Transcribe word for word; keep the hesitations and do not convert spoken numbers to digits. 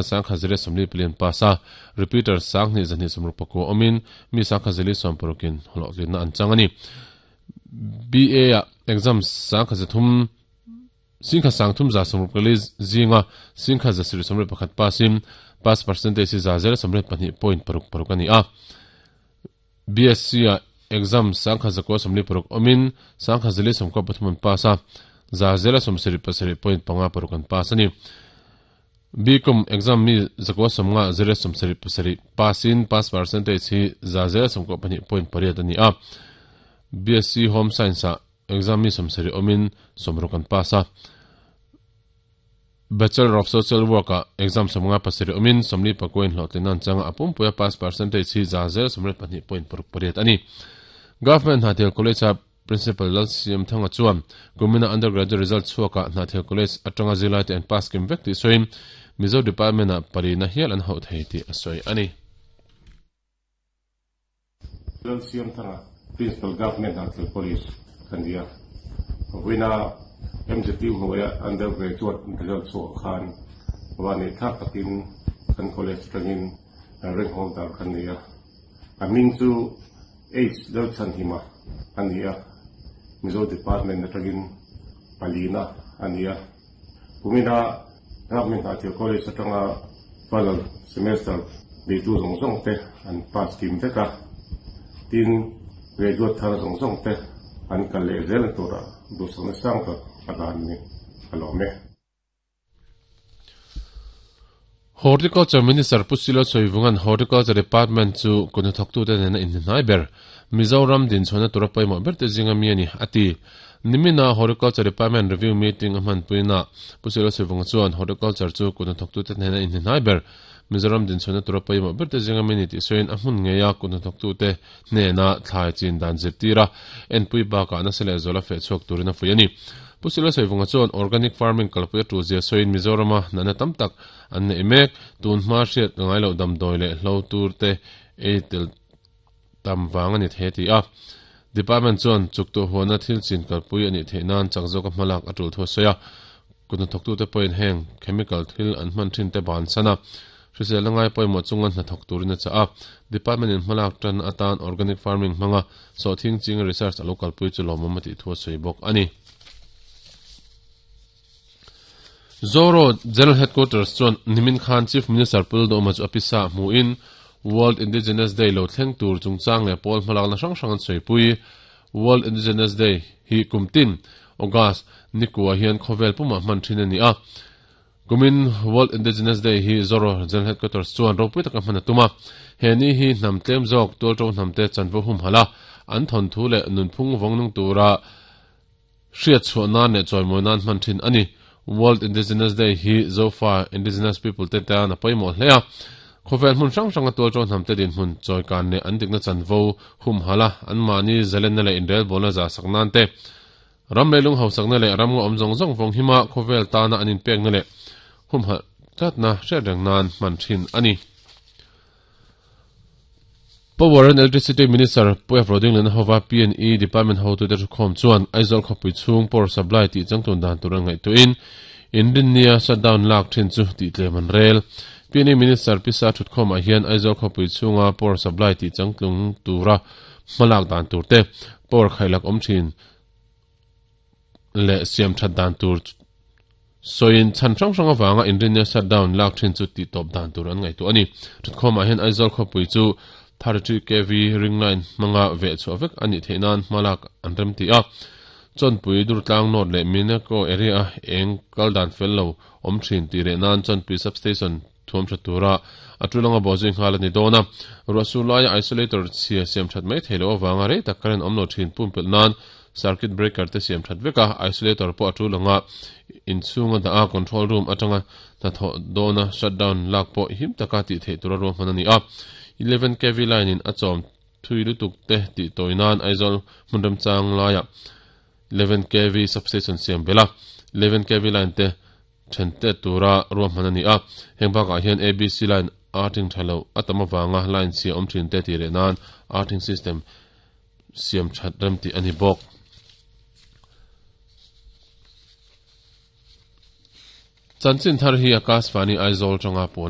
Sangkhat zariat sawmli palian pass a, repeater sanghnih zahnih sawmruk pakua awmin mi sangkhat zali sawm parukin hlawhtlinna an chang a ni. B A ah exam sangkhat zathum singkhat sangthum za sawmruk pali zinga singkhat za sarih sawmriat pakhat passin pass percentage hi za zela sawmriat pahnih point paruk paruk a ni a. B S C ah exam sangkhat zakua sawmli paruk awmin sangkhat zali sawmkua pathum an pass a, za zela sawmsarih pasarih point panga paruk an pass a ni. B Com exam mi zakua sawmnga zela sawmsarih pasarih passin pass percentage hi za zela sawmkua pahnih point pariat a ni a. B S C Home Science ah exam mi sawmsarih awmin sawmruk an pass a. Bachelor of Social Work ah exam sawmnga pasarih awmin sawmli pakuain hlawhtlin an changa a pumpuia pass percentage hi za zela sawmriat pahnih point paruk pariat a ni. Government Hnathel College ah Principal Lal Siam Thanga chuan kumina undergraduate result chhuakah Hnathel College atanga zirlai te an pass kim vek tih sawiin Mizo Department ah palina hial an hauh thei tih a sawi a ni. Lal Siam Thanga Principal Government Hnathel College kan ni a, vawiina M Z U hnuaia undergraduate result chhuakah khan vanneih thlak takin kan college atangin rank holder kan ni a, a hming chu H Lalchhanhima a ni a, Mizo Department atangin palina a ni a, kumina Government Hnathel College atanga final semester beitu zawng zawng te an pass kim vek a, tin graduate thar zawng zawng te an kal leh zel turah duhsakna sang tak a dan ni a lawm e. Horticulture Minister Pu Silo Sawivungan Horticulture Department chu kut hnathawktute nena inhnihnai ber Mizoram dinchhuahna tura pawimawh ber te zinga mi a ni a ti. Nimina Horticulture Department review meeting a hmanpuina Pu Silo Sawivunga chuan Horticulture chu kut hnathawktute nena inhnihnai ber Mizoram dinchhuahna tura pawimawh ber te zinga mi ni tih sawiin a hmun ngeia kut hnathawktute hnena thlai chin dan zirtir a enpui bakah nasa leh zawla feh chhuak turin a fuih a ni. Pu Silo Sawivunga chuan organic farming kalpui a tu zia sawiin Mizorama natna tam tak an nei mek tun hma hriat ngai loh damdawi leh hlo tur te ei tel tam wang a ni thei ti a. Department chuan chuktu huana thil chin kalpui a nih theih nan chak zawk a hmalak a tul thu a sawi a. Kut hnathawktute pawhin heng chemical thil an hman thin te ban sana hrisel ngai pawimawh chunga hnathawk turin a chah a. Department in hmalak tan atan organic farming hmanga sawhthing ching research a lo kalpui chu lawmawm a tih thu a sawi bawk a ni. Zoro General Headquarters chuan Nimin Khan Chief Minister Pu Lalduhoma chu a pisa hmuin World Indigenous Day lo thleng tur chungchang leh pawl hmalakna hrang hrang an sawipui. World Indigenous Day hi kumtin August nikua hian khawvel pumah hman thin a ni a. Kumin World Indigenous Day hi Zoro General Headquarters chuan ropui taka hman a tum a. He ni hi hnam tlem zawk tualto hnam te chanvo hum hala an thawn thu leh nunphung vawngnung tura hriat chhuah nan leh chawimawi nan hman thin a ni. World Indigenous Day hi Zofa Indigenous People te tan a pawimawh hle a. Khawvel hmun hrang hrang a tualto hnam te din hmun chawikan leh an dikna chanvo hum hala an mahni zalenna leh inrel bawlna za sak nan te. Ram leilung hausakna leh ram nga awm zawng zawng vawng hima khawvel tana an inpekna leh hum hal tlatna hriat reng nan hman thin a ni. Power and Electricity Minister Pu F Rodingliana hova P and E Department ho tu te thukhawm chuan Aizawl khawpui chhung power supply tih changtun dan tur an ngaihtuahin inrinnia shutdown lak thin chu tih tlem an rel. P and E Minister Pisa thukhawmah hian Aizawl khawpui chhunga power supply tih changtlung tura hmalak dan tur te power khailak awm thin leh siam that dan tur sawiin chan hrang hrang awanga inrinnia shutdown lak thin chu tih tawp dan tur an ngaihtuah a ni. Thukhawmah hian Aizawl khawpui chu thirty-three K V ring line hmanga veh chhuah vek a nih theih nan hmalak an rem ti a. Chawnpui Durtlang North leh Minako area eng kal dan fel lo awm thin tih reh nan Chawnpui substation thuam tha tura a tulanga bawhzui nghal a ni dawn a. Ruahsur laia isolator chhia siam that mai thei lo awanga rei tak current awm lo thin pumpelh nan circuit breaker te siam that vek a, isolator pawh a tulanga inchhunga dah a control room atanga hnathawh dawna shutdown lak pawh him taka tih theih tura ruahman a ni a. eleven K V line in a chawm thui lutuk te tih tawi nan Aizawl hmun remchang laia eleven K V substation siam bela eleven K V line te then te tura ruahman a ni a. Heng bakah hian A B C line earthing thalo a tam awanga line chhia awm thin te tih reh nan earthing system siam that rem tih a ni bawk. Chanchin thar hi Akashvani Aizawl tanga puan a ni.